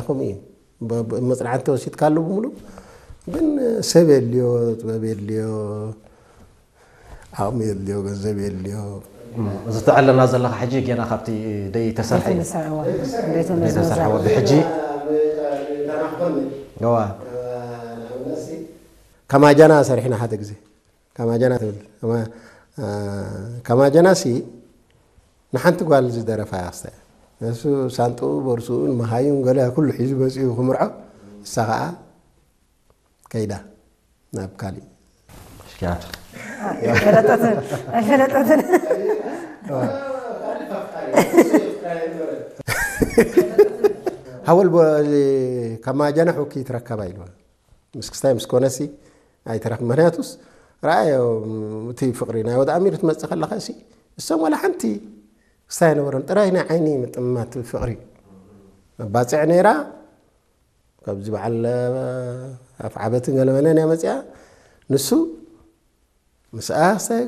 ከምኡ እዩ። ብ- ብ- መጽናዕቲ ተወሲድካሉ ብምሉ ግን ሰብ የድልዮ፣ ጥበብ የድልዮ፣ ዓቕሚ የድልዮ፣ ገንዘብ የድልዮ። እዚ ትዕለና ዘለኻ ሕጂ ጌና ካብቲ ደይተሰርሐ እዩ። ዘይተነስሐ እዋ ዘይተነስሐ ዘይተሰርሐ ወዲ ሕጂ እዋ ከማጃና ሰሪሕና ሓደ ግዜ። ከማጃና ትብል ከማጃና ሲ ንሓንቲ ጓል ዝደረፋ እያ ክስታይ። ንሱ ሳንጥኡ ቦርሱኡን መሃዩን ገለ ኩሉ ሒዙ መፂኡ ክምርዖ፣ እሳ ከዓ ከይዳ ናብ ካሊእ። ሽኪያት ኣይፈለጠትን ኣይፈለጠትን። ሃወል ከማጃና ሑኪ ትረከባ ኢልዋ። ምስ ክስታይ ምስ ኮነሲ ኣይተረክ ምክንያቱስ ረኣዮ እቲ ፍቅሪ ናይ ወደ ኣሚር ትመፅእ ከለካ ሲ እሶም ዋላ ሓንቲ ክስታይ ነበሮም ጥራይ ናይ ዓይኒ ምጥማት ፍቅሪ ባፅዕ ነይራ። ካብዚ በዓል ኣፍ ዓበትን ገለመለን እያ መፅያ። ንሱ ምስኣ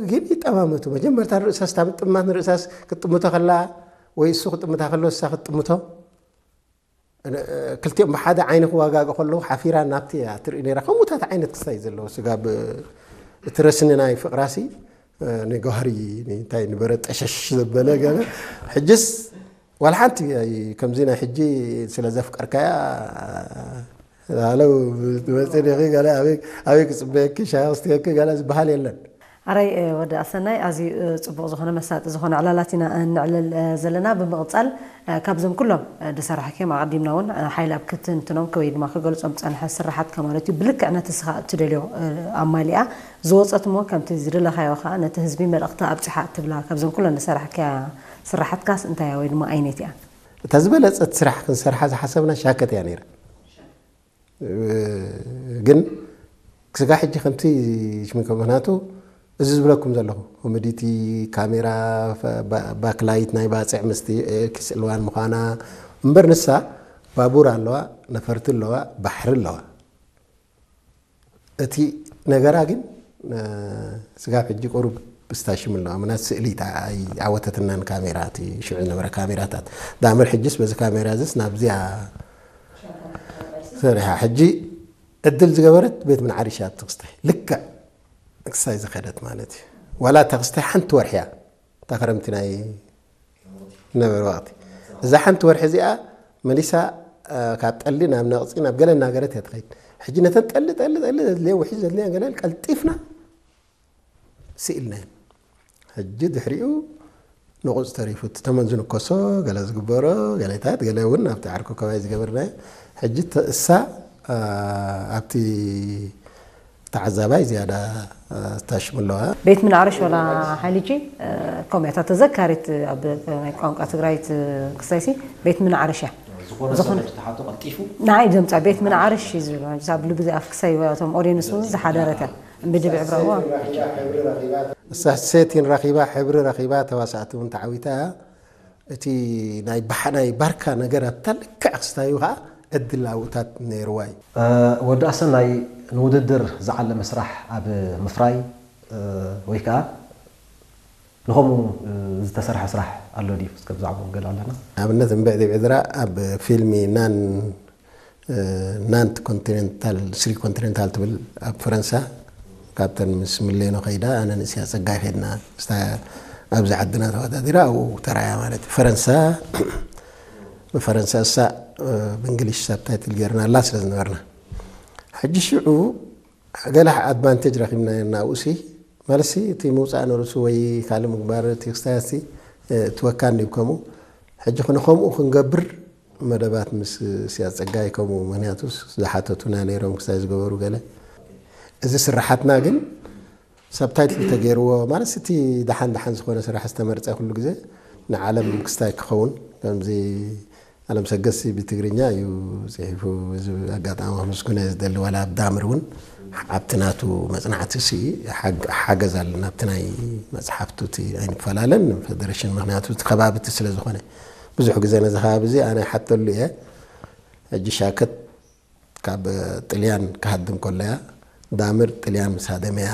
ግን ይጠማመቱ መጀመርታ ንርእሳስ እታ ምጥማት ንርእሳስ ክትጥምቶ ከላ ወይ እሱ ክጥምታ ከሎ እሳ ክትጥምቶ ክልቲኦም ብሓደ ዓይኒ ክዋጋገ ከለዉ ሓፊራ ናብቲ እያ ትርኢ ነይራ። ከምኡታት ዓይነት ክስታይ ዘለዎ ስጋብ እቲ ረስኒ ናይ ፍቅራሲ ንጓህሪ እንታይ ንበረ ጠሸሽ ዘበለ ገለ ሕጅስ ዋላ ሓንቲ ከምዚ ናይ ሕጂ ስለ ዘፍቀርካያ ለው መፅእ ዲኺ ገለ ኣበይ ክፅበየኪ ሻሂ ክስትየኪ ገለ ዝበሃል የለን። ኣራይ ወዲ ኣሰናይ ኣዝዩ ፅቡቕ ዝኾነ መሳጢ ዝኾነ ዕላላት ኢና ንዕልል ዘለና። ብምቕፃል ካብዞም ኩሎም ዝሰራሕክዮም ኣቐዲምና እውን ሓይል ኣብ ክትንትኖም ወይ ድማ ክገልፆም ዝፀንሐ ስራሓትካ ማለት እዩ ብልክዕ ነቲ ስኻ እትደልዮ ኣማሊኣ ዝወፀት እሞ ከምቲ ዝደለኻዮ ከዓ ነቲ ህዝቢ መልእኽቲ ኣብፅሓ እትብላ ካብዞም ኩሎም ዝሰራሕክያ ስራሓትካስ እንታይ እያ ወይ ድማ ኣይነት እያ? እታ ዝበለፀት ስራሕ ክንሰርሓ ዝሓሰብና ሻከት እያ ነይራ። ግን ክስጋ ሕጂ ከምቲ ሽሚኮ ምክንያቱ እዚ ዝብለኩም ዘለኹ ኮሜዲቲ ካሜራ ባክላይት ናይ ባፅዕ ምስቲ ኪስ ዕልዋን ምዃና እምበር ንሳ ባቡር ኣለዋ፣ ነፈርቲ ኣለዋ፣ ባሕሪ ኣለዋ። እቲ ነገራ ግን ስጋብ ሕጂ ቁሩብ ብስታሽም ኣለዋ ምናት ስእሊ ኣይዓወተትናን ካሜራ እቲ ሽዑ ዝነበረ ካሜራታት ዳምር ሕጅስ በዚ ካሜራ ዝስ ናብዚያ ሰሪሓ ሕጂ ዕድል ዝገበረት ቤት ምንዓሪሻ ትክስታይ ልክዕ ክሳይ ዝኸደት ማለት እዩ። ዋላ እታ ክስታይ ሓንቲ ወርሒ እያ እታ ክረምቲ ናይ ነበረ ወቅቲ እዛ ሓንቲ ወርሒ እዚኣ መሊሳ ካብ ጠሊ ናብ ነቕፂ ናብ ገለ እናገረት እያ ትኸይድ። ሕጂ ነተን ጠሊ ጠሊ ጠሊ ዘድልየን ውሒድ ዘድልየን ገለ ቀልጢፍና ስኢልናየን። ሕጂ ድሕሪኡ ንቑፅ ተሪፉ እቲ ተመን ዝንከሶ ገለ ዝግበሮ ገለታት ገለ እውን ኣብቲ ዓርኮ ከባቢ ዝገበርናዮ ሕጂ እሳ ኣብቲ ተዓዛባይ ዝያዳ ስታሽም ኣለዋ። ቤት ምንዓርሽ ወላ ሓሊጂ ከምያታ ተዘካሪት ኣብ ናይ ቋንቋ ትግራይ ክሳይሲ ቤት ምንዓርሽ እያ። ዝኾነ ሰብ ተሓቶ ቀልጢፉ ንዓይ ዘምፃ ቤት ምንዓርሽ እዩ ዝብል ኣብ ልቢ ኣፍ ክሳይ እቶም ኦዲየንስ እውን ዝሓደረት እያ። ብድብዕ ብረእዋ እሳ ሴቲን ረኺባ ሕብሪ ረኺባ ተዋሳእቲ እውን ተዓዊታ እያ። እቲ ናይ ባሕ ናይ ባርካ ነገር ኣብታ ልክዕ ክስታዩ ከዓ ዕድል ኣብኡታት ነይርዋ እዩ። ወዲ ኣሰናይ ንውድድር ዝዓለመ ስራሕ ኣብ ምፍራይ ወይ ከዓ ንኸምኡ ዝተሰርሐ ስራሕ ኣሎ ድዩ? እስከ ብዛዕባኡ ገለ ኣለና። ንኣብነት እምብዕ ዲብ ዕድራ ኣብ ፊልሚ ናን ናንት ኮንቲኔንታል ስሪ ኮንቲኔንታል ትብል ኣብ ፈረንሳ ካብተን ምስ ምሌኖ ከይዳ ኣነ ንእስያ ፀጋይ ከድና ስታ ኣብዚ ዓድና ተወዳዲራ ኣብኡ ተራያ ማለት እዩ። ፈረንሳ ብፈረንሳ እሳ ብእንግሊሽ ሳብታይትል ገይርና ኣላ ስለ ዝነበርና ሕጂ ሽዑ ገለ ኣድቫንቴጅ ረኪብና ናብኡ ሲ ማለት ሲ እቲ ምውፃእ ነርሱ ወይ ካልእ ምግባር እቲ ክስታያሲ ትወካ እንዲብ ከምኡ ሕጂ ንከምኡ ክንገብር መደባት ምስ ስያስ ፀጋይ ከምኡ ምክንያቱ ዝሓተቱና ነይሮም ክሳይ ዝገበሩ ገለ እዚ ስራሓትና ግን ሳብታይትል ተገይርዎ ማለት እቲ ደሓን ደሓን ዝኾነ ስራሕ ዝተመርፀ ኩሉ ግዜ ንዓለም ክስታይ ክኸውን ከምዚ ኣለም ሰገስ ብትግርኛ እዩ ፅሒፉ እዚ ኣጋጣሚ ክምስግኖ ዝደሊ ዋላ ኣብ ዳምር እውን ኣብቲ ናቱ መፅናዕቲ ሲ ሓገዝ ኣለና ኣብቲ ናይ መፅሓፍቱ እቲ ኣይንፈላለን ፌደሬሽን ምክንያቱ እቲ ከባቢ እቲ ስለ ዝኾነ ብዙሕ ግዜ ነዚ ከባቢ እዚ ኣነ ሓተሉ እየ ሕጂ ሻከት ካብ ጥልያን ክሃድም ከሎ እያ ዳምር ጥልያን ምስ ሃደመ እያ